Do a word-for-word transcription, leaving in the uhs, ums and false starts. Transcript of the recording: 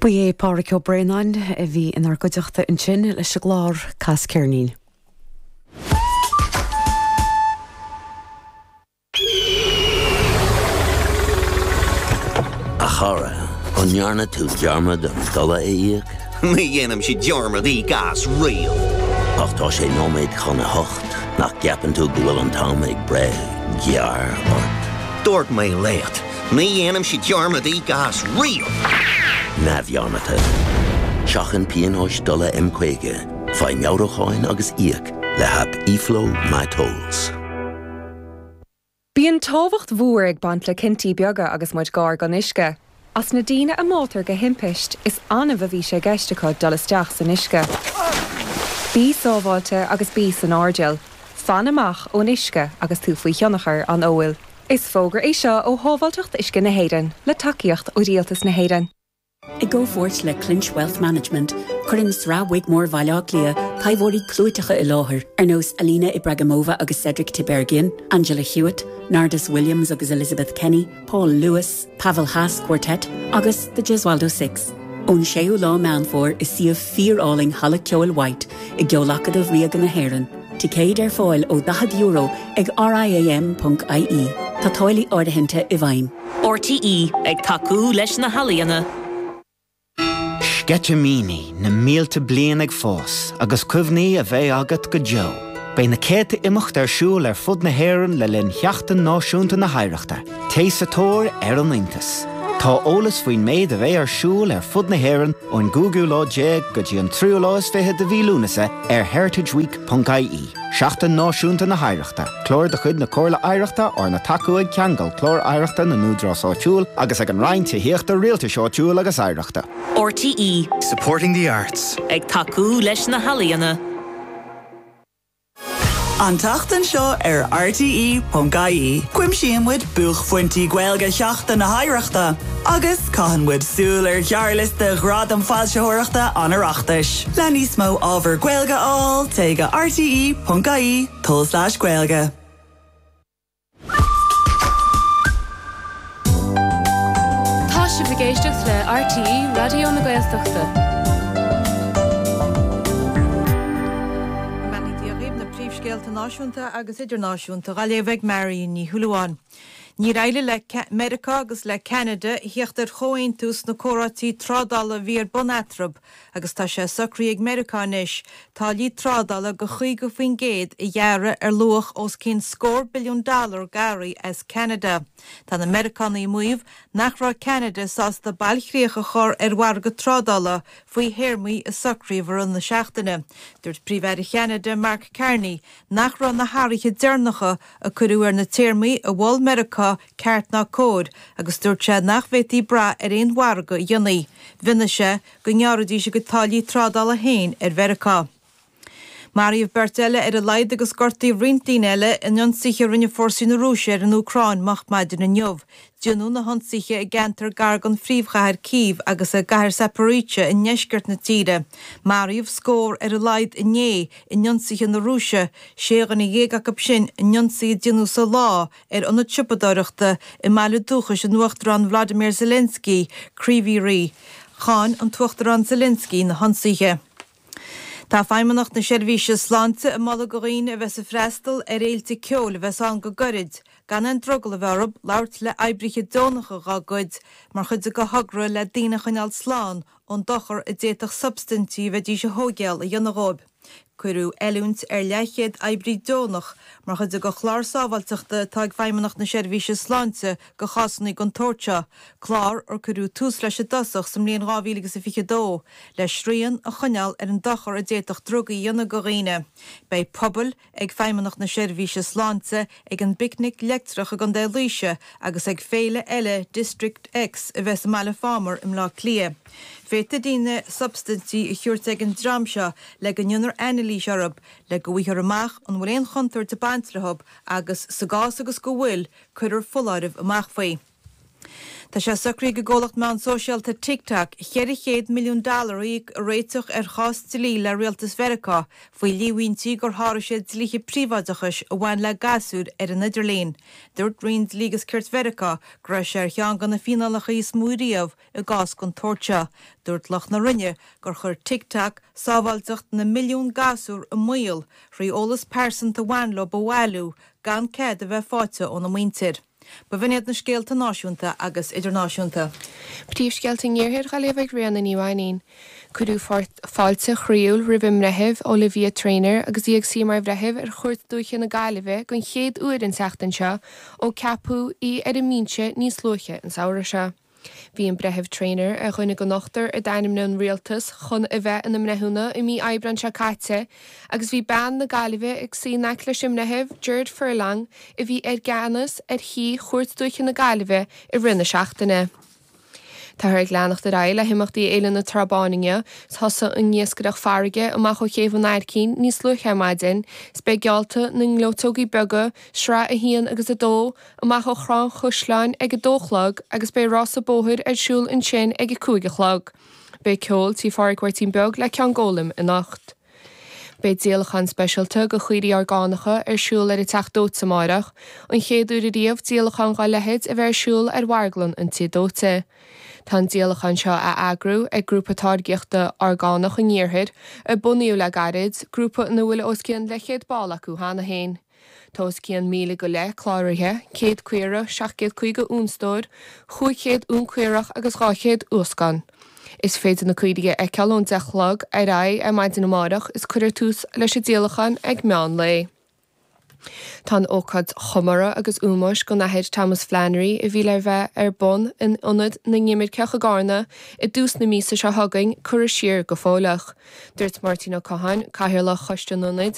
Ba é Pádraig Ó Braonáin a bhí inár gcuideachta ansin leis an gclár Cas Ceirnín. A chara, an ndearna tú dearmad an dola a íoc? Ní dhéanaimse dearmad íoc as riamh. Ach tá sé nóiméad chun a hocht nach gceapann tú go bhfuil an t-am ag breith gearr ort. Dúirt mé leat, ní dhéanaimse dearmad íoc as riamh. Neamhdhearmadta. Seachain pionóis dola M caoga, faigh meabhrúcháin agus íoc le haip eFlow MyTolls. Bíonn tábhacht mhór ag baint le cinntí beaga agus muid gar don uisce. As na daoine a mbáitear de thimpiste, is annamh a bhí sé i gceist acu dul isteach san uisce. Bí sábháilte agus bí san airdeall. Fan amach ón uisce agus tú faoi thionchar an óil. Is fógra é seo ó Shábháilteacht Uisce na hÉireann, le tacaíocht ó Rialtas na hÉireann. I gcomhpháirt le Clinch Wealth Management, cuireann Sraith Wigmore Bhaile Átha Cliath taibheoirí clúiteacha i láthair ar nós Alina Ibragimova agus Cedric Tiberghien, Angela Hewitt, Nardus Williams agus Elizabeth Kenny, Paul Lewis, Pavel Haas Quartet agus The Gesualdo Six. Ón séú lá Meán Fómhair i suíomh fíorálainn Halla Ceoil White i gCeol-Acadamh Ríoga na hÉireann. Ticéid ar fáil ó daichead euro ag riam.ie. Tá táillí áirithinte i bhfeidhm. RTÉ ag tacú leis na healaíona. Sceitimíní na mílte bliain ag fás agus cuimhní a bheidh agat go deo. Beidh na céadta imeacht ar siúl ar fud na hÉireann le linn Sheachtain Náisiúnta na hOidhreachta. Téigh sa tóir ar an iontas. Tá eolas faoin méid a bheidh ar siúl ar fud na hÉireann ón gcúigiú lá déag go dtí an tríú lá is fiche de mhí Lúnasa ar heritageweek.ie. Seachtain Náisiúnta na hOidhreachta, clár de chuid na Comhairle Oidhreachta arna tacú ag Ceangal Clár Oidhreachta na nÚdarás Áitiúil agus ag an Roinn Tithíochta Rialtais Áitiúil agus Oidhreachta. RTÉ Supporting the arts. Ag tacú leis na healaíona. An tseachtain seo ar RTÉ.ie. Cuimsíonn muid buaicphointí Gaeilge Sheachtain na hOidhreachta, agus caitheann muid súil ar ghearrliosta Ghradaim Foilsitheoireachta an Oireachtais. Le níos mó ábhar Gaeilge a fháil, téigh go rte.ie tulslais Gaeilge. Tá sibh ag éisteacht le RTÉ Raidió na Gaeltachta. Go mbeannaí Dia dhaoibh, na príomhscéalta náisiúnta agus idirnáisiúnta á léamh ag Marion Ní Shúilleabháin. Níor éirigh le Meiriceá agus le Ceanada theacht ar chomhaontú sna comhráití trádála a bhí ar bun eatarthu agus tá sé socraithe ag Meiriceá anois táillí trádála de chaoga faoin gcéad a ghearradh ar luach os cionn scór billiún dollar d'earraí as Ceanada. Tá na Meiriceánaigh ag maíomh nach raibh Ceanada sásta bailchríoch a chur ar mhargadh trádála faoi théarmaí a socraíodh i rith na seachtaine. Dúirt Príomh-Aire Cheanada Mark Carney nach raibh na hathruithe deireanacha a cuireadh ar na téarmaí a mhol Meiriceá ceart ná cóir agus dúirt sé nach bhféadfaí brath ar aon mhargadh a dhéanamh. Mhionnaigh sé go ngearrfaidís a gcuid táillí trádála féin ar Mheiriceá. Maraíodh beirt eile ar a laghad agus gortaíodh roinnt daoine eile in ionsaithe a rinne fórsaí na Rúise ar an Úcráin moch maidin inniu. Déanadh na hionsaithe i gceantar gar don phríomhchathair Cív agus i gcathair Zaporizhzhia i ndeisceart na tíre. Maraíodh scór ar a laghad inné in ionsaithe na Rúise, sé dhuine dhéag acu sin in ionsaí a déanadh sa lá ar ionad siopadóireachta i mbaile dúchais an Uachtaráin Vladimir Zelensky, Kryvyi Rih. Cháin an tUachtarán Zelensky na hionsaithe. Tá Feidhmeannacht na Seirbhíse Sláinte ag moladh do dhaoine a bheas ag freastal ar fhéilte ceoil a bheas ann go gairid, gan aon drogall a bheith orthu labhairt le oibrithe deonacha dá gcuid mar chuid de thogra le daoine a choinneáil slán ón dochar a d'fhéadfadh substaintí a bheidís a thógáil a dhéanamh dhóibh. Cuireadh oiliúint ar leathchéad oibrí deonach mar chuid de chlár sábháilteachta atá ag Feidhmeannacht na Seirbhíse Sláinte do chásanna den tsórt seo, clár ar cuireadh tús leis i dtosach sa mbliain dhá mhíle agus a fiche dó, le srian a choinneáil ar an dochar a d'fhéadfadh drugaí a dhéanamh do dhaoine. Beidh puball ag Feidhmeannacht na Seirbhíse Sláinte ag an bPicnic Leictreach i gContae Laoise agus ag féile eile District X a bheas i mBaile Phámar i mBleá Cliath. Féadfaidh daoine substaintí a thabhairt ag an dream seo le go ndéanfar anailís orthu, le go bhfaighfear amach an bhfuil aon chontúirt ag baint leo agus, sa gcás agus go bhfuil, cuirfear foláireamh amach faoi. Tá sé socraithe ag an gcomhlacht meán sóisialta TikTok ceithre chéad milliún dollar a íoc i réiteach ar chás dlí le rialtas Mheiriceá faoi líomhaintí gur sháraigh siad dlíthe príobháideachais a bhain le gasúir ar an idirlíon. Dúirt Roinn Dlí agus Cirt Mheiriceá go raibh sé ar cheann de na fíneálacha is mó riamh i gcás den tsórt seo. Dúirt lucht na Roinne gur chuir TikTok sábháilteacht na milliún gasúr i mbaol thrí eolas pearsanta a bhain leo a bhailiú gan cead a bheith faighte óna muintir. B'in iad na scéalta náisiúnta agus idirnáisiúnta. Príomhscéalta an Iarthair á léamh ag Ríona Ní Mhainín. Cuireadh fáilte chroíúil roimh an mBreitheamh Olivia Traynor agus í ag suí mar bhreitheamh ar Chúirt Dúiche na Gaillimhe den chéad uair an tseachtain seo ó ceapadh í ar an mbinse níos luaithe an samhradh seo. Bhí an Breitheamh Traynor ar dhuine den ochtar a d'ainmnigh an rialtas chun a bheith ina mbreithiúna i mí Aibreáin seo caite agus bhí bean na Gaillimhe ag suí in aice leis an mBreitheamh Gerard Furlong a bhí i gceannas ar shuí Chúirt Dúiche na Gaillimhe i rith na seachtaine. Táthar ag leanacht ar aghaidh le himeachtaí Fhéile na Trá Báine inniu, thosaigh an iascaireacht farraige amach ó Chéibh an Aircín níos luaithe ar maidin, 's beidh geallta na ngleoiteogaí beaga, sraith a haon agus a dó, amach ó Thrá an Chaisleáin ag a dó a chlog agus beidh rása bóthair ar siúl ansin ag a cúig a chlog. Beidh ceol tí Phádraig Mháirtín Beag le Ceann Gólaim anocht. Beidh díolachán speisialta de chaoirigh orgánacha ar siúl ar an Teach Dóite amárach, an chéad uair ariamh díolachán dá leithéid a bheith ar siúl ar mharglann an Tí Dóite. Tá an díolachán seo á eagrú ag Grúpa Táirgeachta Orgánach an Iarthair, a bunaíodh le gairid, grúpa ina bhfuil os cionn leathchéad ball acu cheana féin. Tá os cionn míle go leith cláraithe, céad caora, seacht gcéad caoga uanstór, chúig chéad uan caorach agus dhá chéad uascán. Is féidir na caoirigh a fheiceáil ón deich a chlog ar aghaidh ar maidin amárach is cuirfear tús leis an díolachán ag meán lae. Tá an ócáid chomórtha agus ómóis don Athair Thomas Flannery a bhí le bheith ar bun in Ionad na nImirceach i gCarna i dtús na míosa seo chugainn curtha siar go fóilleach. Dúirt Máirtín Ó Catháin, Cathaoirleach Choiste an Ionaid,